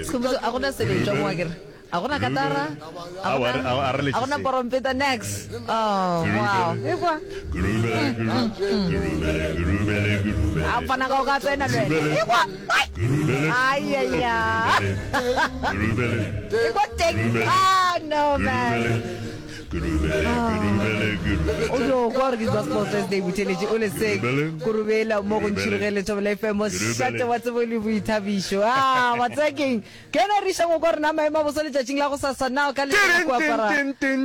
Sekhumbuzo, a gona seletšwa mo akere? A gona katara? A gona a gona porompeta nex? Oh, wow. Ekwa. A fana ka o ka tsena le wena. Ekwa. Ai ai ai. Ekwa teng. Ah, no man. O dio kwa gore ke Gospel Thursday botheletše o le seng kurubela mo go ntšhirogele Thobela FM mošate wa tsebo le boithabišo. Ah, wa tseba keng? Ke yena re išang go kwa rena maemo a boso letšatšing la gosasa na o ka letela go apara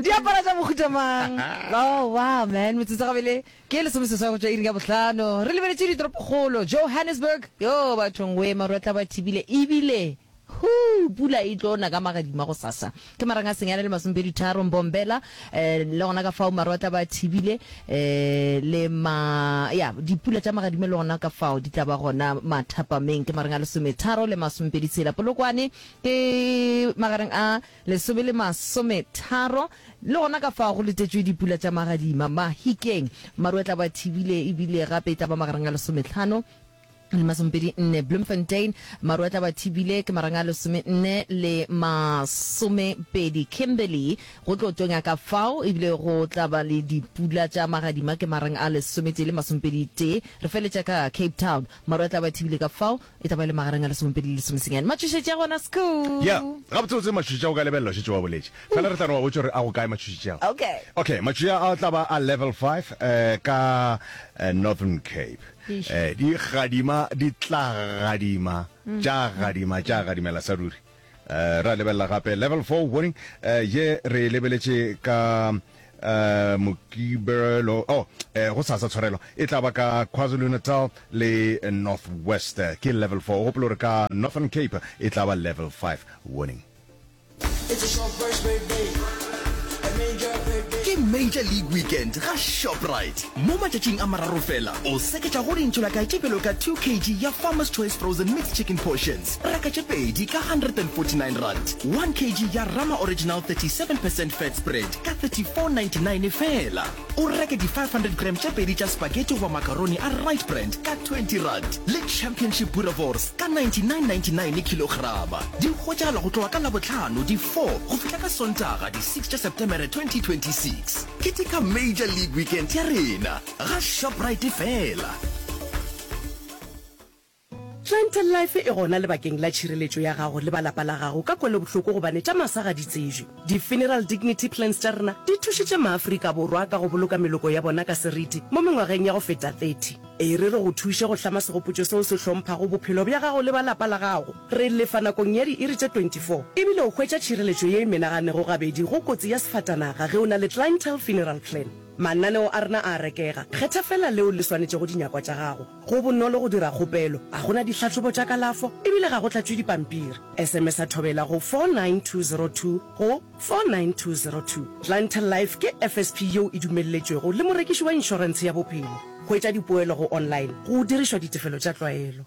diapara tša mohuta mang? Oh, wow, man, metsotso gabele ke lesomeseswai go tšwa iring ya bohlano. Re lebeletše ditoropokgolo Johannesburg, yo bathong we maru a tla ba thibile ebile Huu! Pula e tlo na ka magadima gosasa. Ke marang a senyane le masomepeditharo, Mbombela, eh, le gona ka fao maru a tla ba a thibile, eh, le ma, ya, dipula tša magadima le gona ka fao di tla ba gona mathapameng. Ke marang a lesometharo le masomepeditshela. Polokwane ke magareng a lesome le masometharo, le gona ka fao go letetšwe dipula tša magadima. Mahikeng, maru a tla ba a thibile ebile gape e tla ba magareng a lesometlhano le masomepedi nne. Bloemfontein, maru a tla ba thibile ke marang a lesomenne le masomepedi. Kimberley, go tlo tonya ka fao ebile go tla ba le dipula tša magadima ke marang a lesometee le masomepedi tee. Re feletša ka Cape Town, maru a tla ba thibile ka fao e tla ba e le magareng a lesomepedi le lesomesenyane. Matšhošetši a gona Skhoo. Ya, gabotsebotse matšhošetši a go ka lebelela o šetše wa boletše. Fela re tla no ba botša gore a go kae matšhošetši ao. Okay. Okay, matšhošetši a tla ba a level five eh, ka eh, Northern Cape. Eh, di gadima, di tla gadima, tša gadima, tša gadimela sa ruri. Eh, ra lebelela gape level 4 warning, eh, ye re e lebeletše ka eh, Mokibelo, oh, eh, go sasa tshwarelo, e tla ba ka KwaZulu-Natal le North West, ke level 4. O gopole gore ka Northern Cape e tla ba level 5 warning. Ke Major League Weekend ga Shoprite. Mo matšatšing a mararo fela, o seketša go dintšholaka tše bjalo ka 2 kg ya Farmer's Choice Frozen Mixed Chicken Portions, reka tše pedi ka R149, 1 kg ya Rama Original 37 percent Fat Spread ka R34.99 fela. O reke di 500 gram tše pedi tša spaghetti goba macaroni a Rite Brand ka R20 le Championship Boerewors ka R99.99 khilograma. Di hwetšagala go tloga ka Labohlano di 4 go fihla ka Sontaga di 6 tša Setemere 2026. Keteka Major League Weekend ya rena ga Shoprite fela. Clientele Life e gona lebakeng la tšhireletšo ya gago le ba lapa la gago ka kwelobohloko gobane tša masa ga di tsebje. Di-Funeral Dignity Plans tša rena di thušitše maAfrika Borwa ka go boloka meloko ya bona ka seriti mo mengwageng ya go feta 30. E re re go thuše go hlama segopotšo seo se hlomphago bophelo bja gago le ba lapa la gago. Re lefa nakong ya diiri tše 24 ebile o hwetša tšhireletšo ye e menaganego gabedi go kotsi ya sefatanaga ge o na le Clientele Funeral Plan. Mananeo a rena a a rekega, kgetha feela leo le swanetšego dinyakwa tša gago. Go bonolo go dira kgopelo, ga go na dihlahlobo tša kalafo e bile ga go tlatšwe dipampiri. SMS-a Thobela go 49202 go 49202. Clientele Life ke FSP yeo e dumelletšwego le morekiši wa inšorentshe ya bophelo. Hwetša dipoelo go online go dirišwa ditefelo tša tlwaelo.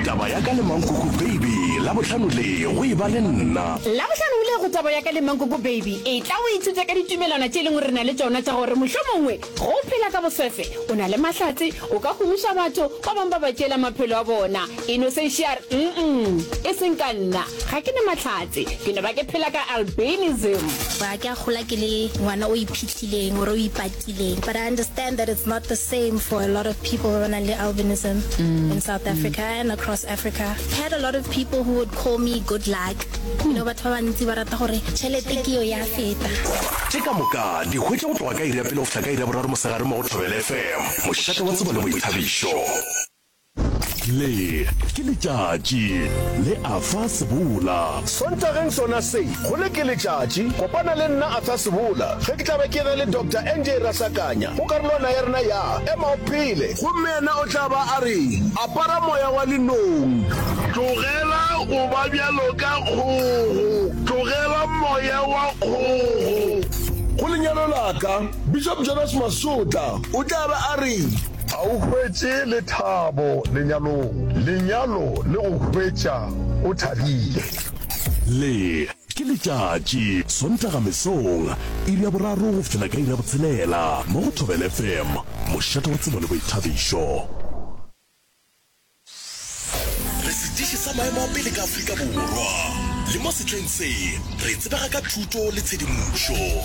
Taba ya ka le Mankoko Baby, Labohlano le go e ba le nna. Labohlano le go Taba ya ka le Mankoko Baby, etla o ithute ka ditumelwana tše e leng gore re na le tšona tša gore mohlomongwe ge o phela ka boswefe, o na le mahlatse, o ka humiša batho, ba bangwe ba ba tšeela maphelo a bona. Innocentia a re, Mm-mm, e seng ka nna, ga ke na mahlatse, ke no ba ke phela ka albinism. Ga ke a gola ke le ngwana o iphihlileng or o ipatileng but I understand that it's not the same for a lot of people ba ba nang le albinism in South Africa and across Africa. I had a lot of people who would call me good luck, you know batho ba bantsi ba rata gore tšhelete ke yo ya feta. Tše ka moka di hwetša go tloga ka iri ya pele go fihla ka iri ya boraro mosegare mo go Thobela FM, mošate wa tsebo le boithabišo. Le ke letšatši le Arthur Sebola. Sontageng sona se, go le ke letšatši, kopana le nna Arthur Sebola ge ke tla be ke na le Doctor NJ Rasakanya go karolwana ya rena ya Ema o Phele. Gomme yena o tla ba a re, Apara moya wa lenong. Tlogela go ba bjalo ka kgogo, tlogela moya wa kgogo. Go lenyalo la ka, Bishop Jonas Masotla o tla be a re. Ga o hwetše lethabo lenyalong. Lenyalo le go hwetša o thabile. Le ke letšatši, Sontaga mesong, iri ya boraro go fihlela ka iri ya botshelela, mo go Thobela FM, mošate wa tsebo le boithabišo. sa maemo a pele ka Afrika Borwa. Le mo sehleng se, re tsebega ka thuto le tshedimošo.